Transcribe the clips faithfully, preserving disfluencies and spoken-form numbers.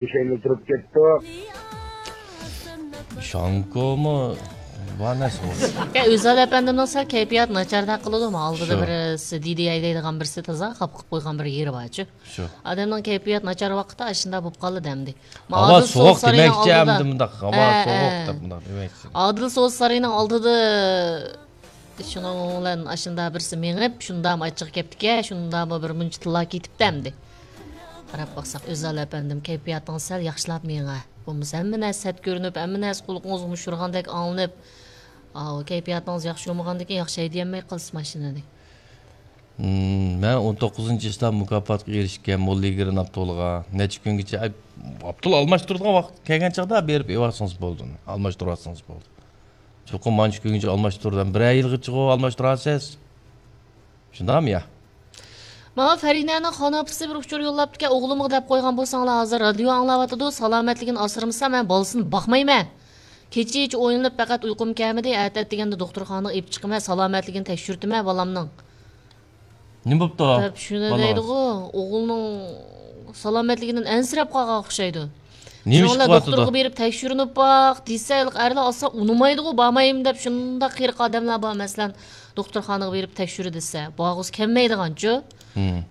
ئىشەيمىز تۇرۇپ كەتتۇق. شانكومۇ بار نەرسە بولدى. يا، ئۆزال ئەپەندىمنىڭ سەل كەيپىياتى ناچاردەك قىلىدۇ. ئالدىدا شۇ. بىر سىدىدى ھەيدەيدىغان بىرسى تازا خاپا قىلىپ قويغان بىر يېرى بارچۇ. شۇ. ئادەمنىڭ كەيپىياتى ناچار ۋاقىتتا ئاشۇنداق بولۇپ قالىدۇ ئەمدى. ھاۋا سوغۇق دېمەكچى ئەمدى مۇنداق. ھاۋا سوغۇق دەپ مۇنداق دېمەكچى. ئادىل سودا سارىيىنىڭ ئالدىدا شۇنىڭ بىلەن ئاشۇنداق بىرسى مېڭىپ، شۇنداقمۇ ئاچچىقى كەپتىكەن، شۇنداقمۇ بىر مۇنچە تىللا كېتىپتۇ ئەمدى. قاراپ باقساق، ئۆزال ئەپەندىم، كەيپىياتىڭىز سەل ياخشىلاپ مېڭە. بولمىسا ھەممە نەرسە سەت كۆرۈنۈپ، ھەممە نەرسە قۇلىقىڭىزغا مۇشۇرغاندەك ئاڭلىنىپ، ئاۋۇ كەيپىياتىڭىز ياخشى بولمىغاندىكىن ياخشى ھەيدىيەلمەي قالىسىز ماشىنىنى. مەن ئون توققۇزىنچى چىسلا مۇكاپاتقا ئېرىشكەن موللىگرېن ئاپتولىغا نەچچە كۈنگىچە، ئاپتول ئالماشتۇرىدىغان ۋاقىت كەلگەن چاغدا بېرىپ ئېلىۋالسىڭىز بولدى، ئالماشتۇرۇۋالسىڭىز بولدى. چوقۇم مانچە كۈنگىچە ئالماشتۇرىدۇ، بىرەر يىلغىچىغۇ ئالماشتۇراسىز. شۇنداقمۇ يا؟ ماڭا فەرىنەنىڭ خانىپىسى بىر ئۇچۇر يوللاپتىكەن، ئوغلۇمغا دەپ قويغان بولساڭلار، ھازىر رادىيو ئاڭلاۋاتىدۇ، سالامەتلىكىنى ئاسرىمىسا، مەن بالىسىنى باقمايمەن. كېچىچە ئويلىنىپ، پەقەت ئۇيقۇم كەلمىدى، ئەتە ئەتىگەندە دوختۇرخانىغا ئېلىپ چىقىمەن، سالامەتلىكىنى تەكشۈرتىمەن بالامنىڭ. نېمە بوپتۇ؟ دەپ شۇنى دەيدىغۇ، ئوغلىنىڭ سالامەتلىكىدىن ئەنسىرەپ قالغان ئوخشايدۇ. نېمە ئىش قىلىۋاتىدۇ؟ دوختۇرغا بېرىپ تەكشۈرۈنۈپ باق دېسە، ھېلىقى ئەرلەر ئاسان ئۇنىمايدىغۇ، بارمايمەن دەپ شۇنداق قېرىق ئادەملەر بار، مەسىلەن، دوختۇرخانىغا بېرىپ تەكشۈر دېسە، بارغۇسى كەلمەيدىغانچۇ.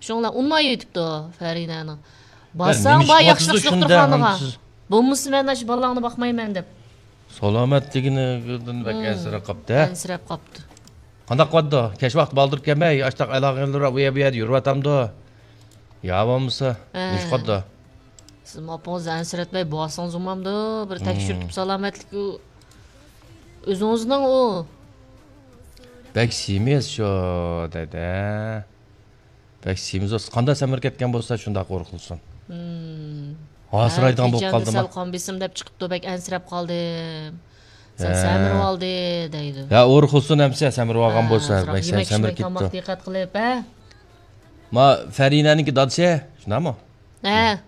شۇڭلار ئۇنىماي ئۆتۈپتۇ فەرىنەنىڭ. بارساڭ بار ياخشى دوختۇرخانىغا. بولمىسا مەن ئاشۇ بالاڭنى باقمايمەن دەپ. سالامەتلىكىدىن بەك ئەنسىرەپ قاپتۇ، ھە؟ ئەنسىرەپ قاپتۇ. قانداق قىلىۋاتىدۇ؟ كەچ ۋاقتى بالدۇر كەلمەي، ئاشتاق ئالاقىلىرى ئۇ يەر بۇ يەردە يۈرۈۋاتامدۇ؟ يا بولمىسا، نېمە قىلىدۇ؟ سىزمۇ ئاپىڭىزنى ئەنسىرەتمەي بارسىڭىز بولمامدۇ؟ بىر تەكشۈرتۈپ سالامەتلىكى ئۆزىڭىزنىڭ ئۇ. بەك سېمىز شۇ دەيدۇ. بەك سېمىز بولسا، قانداق سەمرىپ كەتكەن بولسا، شۇنداق ئورۇقلىسۇن. ھاسىرايدىغان بولۇپ قالدىما؟ سەل قان بېسىم دەپ چىقىپتۇ، بەك ئەنسىرەپ قالدىم. سەل سەمرىۋالدى دەيدۇ. يا ئورۇقلىسۇن ئەمسە، سەمرىۋالغان بولسا، بەك سەمرىپ كېتىپتۇ. دىققەت قىلىپ، ھە؟ ما فەرىنەنىڭكى دادىسى، شۇنداقمۇ؟ ھە.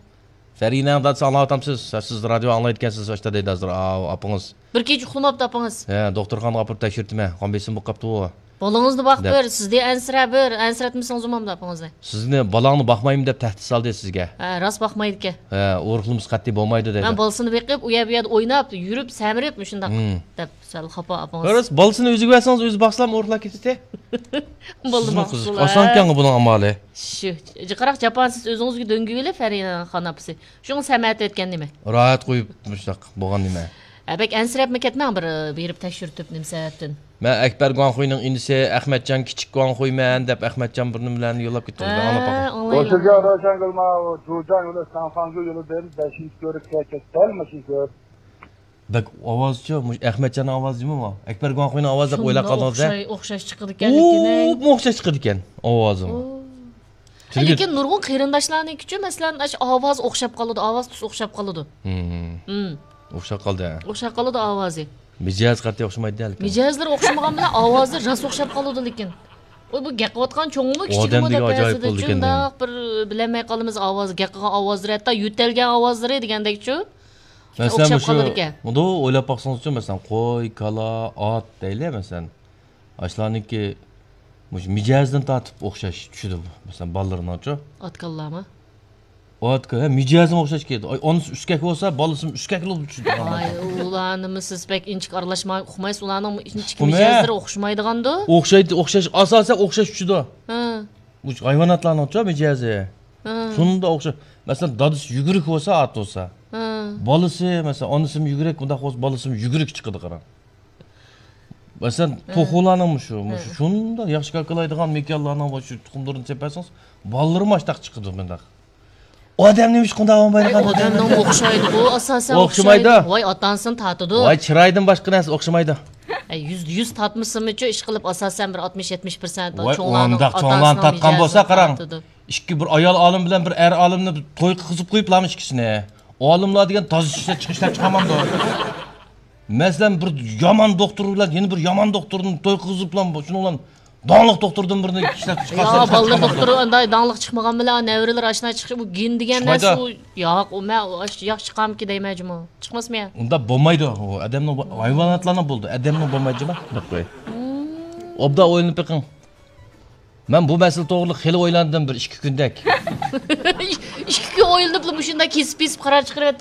فەرىنەنىڭ دادىسى ئاڭلاۋاتامسىز؟ سىز رادىيو ئاڭلايدىكەنسىز، ئاشتا دەيدۇ ھازىر ئاپىڭىز. بىر كېچە ئۇخلىماپتۇ ئاپىڭىز. ھە، دوختۇرخانىغا ئاپىرىپ تەكشۈرتىمەن. قان بېسىمى بولۇپ قاپتۇ. بالىڭىزنى باقىپ بېرىڭ، سىزدىن ئەنسىرەپ بېرىڭ، ئەنسىرەتمىسىڭىز بولمامدۇ ئاپىڭىزنى؟ سىزنى، بالاڭنى باقمايمەن دەپ تەھدىت سالدى سىزگە. ھە، راست باقمايدىكەن. ھە، ئورۇقلىمىسا قەتئىي بولمايدۇ دەيدۇ. مەن بالىسىنى بېقىپ، ئۇ يەر بۇ يەردە ئويناپ يۈرۈپ سەمرىپ مۇشۇنداق دەپ سەل خاپا ئاپىڭىز. راست، بالىسىنى ئۆزىگە بەرسىڭىز ئۆزى باقسىلا ئورۇقلاپ كېتىتى. بولدى، باقسىلا. ئاسان ئىكەنغۇ بۇنىڭ ئامالى. شۇ، جىقراق جاپانى سىز ئۆزىڭىزگە دۆڭگە ئېلىپ، فەرىنەنىڭ خانىپىسى. شۇڭا سەمەتى ئۆتكەن نېمە؟ راھەت قويۇپ مۇشۇنداق بولغان نېمە؟ ھە، بەك ئەنسىرەپمۇ كەتمەڭ، بىر بېرىپ تەكشۈرتۈپ نېمە سەۋەبتىن. مەن ئەكبەر گۇاڭخۇينىڭ ئىنىسى ئەخمەتجان كىچىك گۇاڭخۇيمەن دەپ ئەخمەتجان بىر نېمىلەرنى يوللاپ كېتىپتۇ. ئاڭلاپ باقاي. ئوشۇرجان روشەنگۈل ماۋۇ جۇجاڭ يولى ساڭفاڭجۇ يولىدىن بەشىنچى كۆرۈككە كەتتى دەل ماشىنا كۆپ. بەك ئاۋازچۇ، مۇشۇ ئەخمەتجاننىڭ ئاۋازى جۇمۇ؟ ئەكبەر گۇاڭخۇينىڭ ئاۋازى دەپ ئويلاپ قالدىڭىز ھە؟ ئوخشاش، ئوخشاش چىقىدىكەن لېكىن. ئوپمۇ ئوخشاش چىقىدىكەن ئاۋازىمۇ. لېكىن نۇرغۇن قېرىنداشلارنىڭكىچۇ، مەسىلەن، ئاشۇ ئاۋاز ئوخشاپ قالىدۇ، ئاۋاز تۈس ئوخشاپ قالىدۇ. ئوخشاپ قالدى. ئوخشاپ قالىدۇ ئاۋازى. مىجەز قەتئىي ئوخشىمايدۇ لېكىن. مىجەزلىرى ئوخشىمىغان بىلەن ئاۋازى راست ئوخشاپ قالىدۇ لېكىن. ئۇ بۇ گەپ قىلىۋاتقان چوڭمۇ كىچىكىمۇ دەپ ھەسىدە شۇنداق بىر بىلەلمەي قالىمىز ئاۋازى، گەپ قىلغان ئاۋازلىرى، ھەتتا يۆتەلگەن ئاۋازلىرى دېگەندەكچۇ. مەسىلەن، ئوخشاپ قالىدىكەن. مۇنداق ئويلاپ باقسىڭىزچۇ، مەسىلەن، قوي، كالا، ئات دەيلى، مەسىلەن. ئاشۇلارنىڭكى مۇشۇ مىجەزدىن تارتىپ ئوخشاش چۈشىدۇ، مەسىلەن، بالىلىرىنىڭچۇ. ئات كالىلارمۇ؟ ئات كالا، ھە، مىجەزمۇ ئوخشاش كېلىدۇ. ئاي، ئانىسى ئۈسكەك بولسا، بالىسىمۇ ئۈسكەكلا بولۇپ چۈشىدۇ. ئاي، ئۇلارنىمۇ سىز بەك ئىنچىكە ئارىلاشماي ئۇقمايسىز، ئۇلارنىڭ ئىنچىكە مىجەزلىرى ئوخشىمايدىغاندۇ. ئوخشايدۇ، ئوخشاش، ئاساسەن ئوخشاش چۈشىدۇ. ھە. مۇشۇ ھايۋاناتلارنىڭچۇ مىجەزى. ھە. شۇنداق ئوخشاش. مەسىلەن، دادىسى يۈگۈرۈك بولسا، ئات بولسا. ھە. بالىسى، مەسىلەن، ئانىسىمۇ يۈگۈرۈك، بۇنداق بولسا، بالىسىمۇ يۈگۈرۈك چىقىدۇ، قاراڭ. مەسىلەن، ھە. توخۇلاردىمۇ شۇ، مۇشۇ، ھە. شۇنداق ياخشى كاكىلايدىغان مېكىيانلارنىڭ مۇشۇ تۇخۇملىرىنى سېپەرسىڭىز، بالىلىرىمۇ ئاشتاق چىقىدۇ مۇنداق. ئادەم نېمىشقا ئۇنداق بولمايدىغان؟ ئادەمنىڭ ئوخشايدىغۇ، ئاساسەن ئوخشىمايدۇ. ۋاي، ئاتا-ئانىسىنى تارتىدۇ. ۋاي، چىرايدىن باشقا نەرسە ئوخشىمايدۇ. ئەي، يۈزدە يۈز تارتمىسىمۇچۇ، ئىشقىلىپ، ئاساسەن بىر ئاتمىش يەتمىش پىرسەنت ۋاي، چوڭلارنىڭ، ئۇنداق چوڭلارنى تارتقان بولسا، قاراڭ، ئىككى بىر ئايال ئالىم بىلەن بىر ئەر ئالىمنى توي قىلغۇزۇپ قويۇپلارمۇ ئىككىسىنى. ئالىملار دېگەن تازا ئىشلەپ چىقىش، ئىشلەپ چىقارمامدۇ؟ مەسىلەن، بىر يامان دوختۇر بىلەن يەنە بىر يامان دوختۇرنى توي قىلغۇزۇپلا، شۇنىڭ بىلەن داڭلىق دوختۇردىن بىرنى ئىشلەپ چىقارسا، يا، بالىلار دوختۇرى ئانداق داڭلىق چىقمىغان بىلەن، نەۋرىلەر ئاشۇنداق چىقىپ، ئۇ گىن دېگەن نەرسە، ئۇ، ياق، ئۇ، مەن، ئۇ، ئاش-، ياخشى چىقارمىكىن دەيمەن جۇمۇ. چىقماسمۇ يا؟ ئۇنداق بولمايدۇ. ئۇ ئادەمنىڭ بۇ، ھايۋاناتلارنىڭ بولىدۇ، ئادەمنىڭ بولمايدۇ جۇمۇ. ئوبدان ئويلىنىپ بېقىڭ. مەن بۇ مەسىلە توغرىلىق خېلى ئويلاندىم، بىر ئىككى كۈندەك. ئىككى كۈن ئويلىنىپلا مۇشۇنداق كېسىپ كېسىپ قارار چىقىرىۋەتتى.